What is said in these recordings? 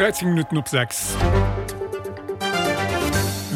13 Minutten op 6.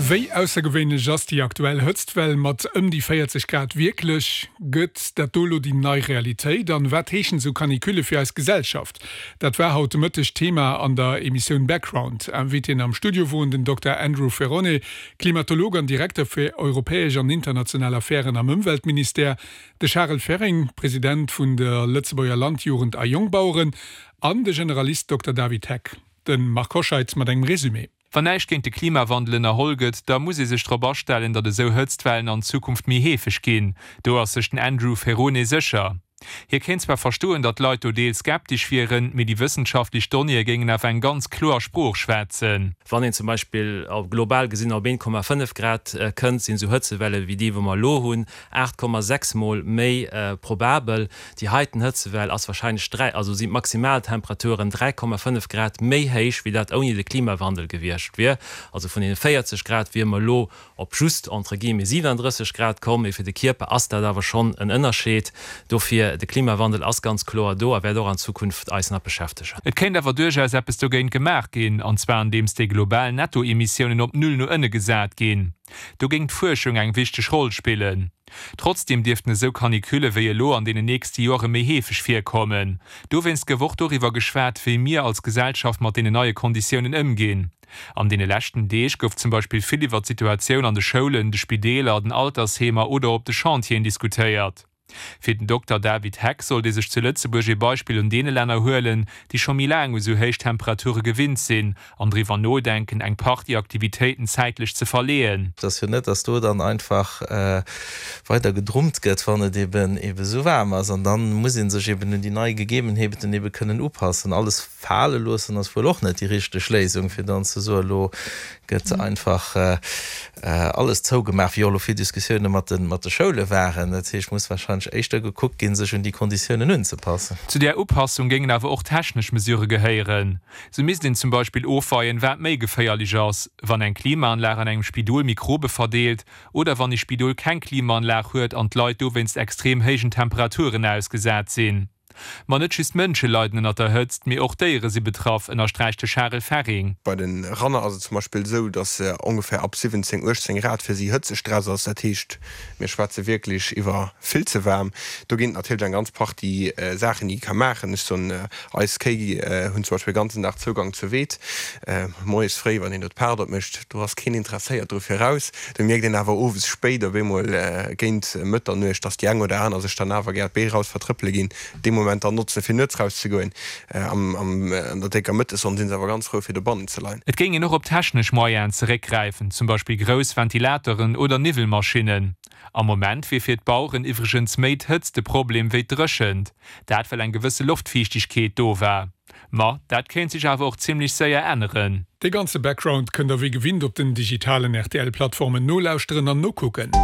Wéi aussergewéinlech ass déi aktuell Hëtztwell mat ëm déi 40 Grad wierklech? Gëtt dat do elo déi nei Realitéit? An wat heeschen esou Canicule fir eis Gesellschaft? Dat war haut de Mëtteg Thema an der Emissioun Background. Invitéen am Studio woren den Dokter Andrew Ferrone, Klimatolog an Direkter fir europäesch an international Affären am Ëmweltministère, de Charel Ferring, President vun der Lëtzebuerger Landjugend a Jongbaueren, An de Generalist Dokter David Heck. De Marc Hoscheid mat engem Résumé. Wann näischt géint de Klimawandel ënnerholl gëtt, da muss ee sech drop astellen, datt esou Hëtztwellen an Zukunft méi heefeg ginn. Do ass sech den Andrew Ferrone sécher. Hie kéint zwar verstoen, datt d'Leit do deels skeptesch wieren, mee déi wëssenschaftlech Donnéeë géingen awer eng ganz kloer Sprooch schwätzen. Wann een zum Beispill global gesinn op 1,5 Grad kënnt, sinn esou Hëtzewelle wéi déi, wou mer elo hunn, 8,6 mol méi probabel. Déi heiten Hëtzewell ass warscheinlech 3, also sinn d'Maximaltemperaturen 3,5 Grad méi héich, wéi dat ouni de Klimawandel gewiescht wier. Also vun deene 40 Grad wier mer elo op just, entre guillemets, 37 Grad komm. Mee fir de Kierper ass dat awer schonn en Ënnerscheed. Dofir, de Klimawandel ass ganz kloer do a wäert och an Zukunft eis nach beschäftegen. Et kéint awer duerchaus eppes dogéint gemaach ginn, an zwar andeems déi global Nettoemissiounen op Null no ënne gesat ginn. Do géing d'Fuerschung eng wichteg Roll spillen. Trotzdeem dierften esou Canicule wéi elo an deenen nächste Joere méi heefeg virkommen. Dowéinst gouf och doriwwer geschwat, wéi mir als Gesellschaft mat deenen neie Konditiounen ëmginn. An deene leschten Deeg gouf zum Beispill vill iwwer d'Situatioun an de Schoulen, de Spideeler, den Altersheemer oder op de Chantieren diskutéiert. Fir den Dokter David Heck sollt ee sech zu Lëtzebuerg ee Beispill un deene Länner huelen, déi scho méi laang u sou héich Temperature gewinnt sinn, an driwwer nodenken, eng Partie Aktivitéiten zäitlech ze verleeën. Et ass jo net, dass do dann einfach weider gedrummt gëtt, wann et eben ebe sou waarm ass. An dann muss ee sech eben un déi nei Gegebenheeten ebe kënnen upassen. Alles fale loossen ass wuel och net déi richteg Léisung, fir dann ze soen, elo gëtt einfach alles zougemaach, wéi och elo vill Diskussioune mat de Schoule waren. Dat heescht, muss warscheinlech éischter gekuckt ginn, sech un déi Konditiounen unzepassen. Zu där Upassung géingen awer och technesch Mesurë gehéieren. Sou misst een zum Beispill ofweien, wat méi geféierlech ass, wann eng Klimaanlag an engem Spidol Mikrobe verdeelt oder wann ee Spidol keng Klimaanlag huet an d'Leit dowéinst extrem héijen Temperaturen ausgesat sinn. Ma net just Mënsche leiden ënnert der Hëtzt, mee och Déiere si betraff, ënnersträicht de Charel Ferring. Bei de Ranner ass et zum Beispill esou, datt ongeféier ab 17, 18 Grad fir si Hëtzestress ass. Dat heescht, mir schwätze wierklech iwwer vill ze waarm. Do ginn et natierlech eng ganz Partie Saachen, déi ee ka maachen. Ech soen, eis Kéi hunn zum Beispill de ganzen Dag Zougang zur Weed. Moies fréi, wann een do d'Paart opmécht, do ass keen interesséiert dru fir raus. Do mierkt een awer owes spéit op eemol géint Mëtternuecht, dass déi eng oder aner sech dann awer gär d'Bee raus vertrëppele ginn, dee Moment dann notzen, fir nuets rauszegoen. An der décker Mëttessonn si se awer ganz frou, fir dobannen ze leien. Et géing een och op technesch Moyenen zeréckgräifen, zum Beispill grouss Ventilateuren oder Niwwelmaschinnen. Am Moment wier fir d'Baueren iwwregens méi d'Hëtzt de Problem wéi d'Dréchent, dat well eng gewësse Loftfiichtegkeet do war. Ma dat kéint sech awer och zimmlech séier änneren. Dee ganze Background kënnt der wéi gewinnt op den digitalen RTL-Plattformen nolauschteren an nokucken.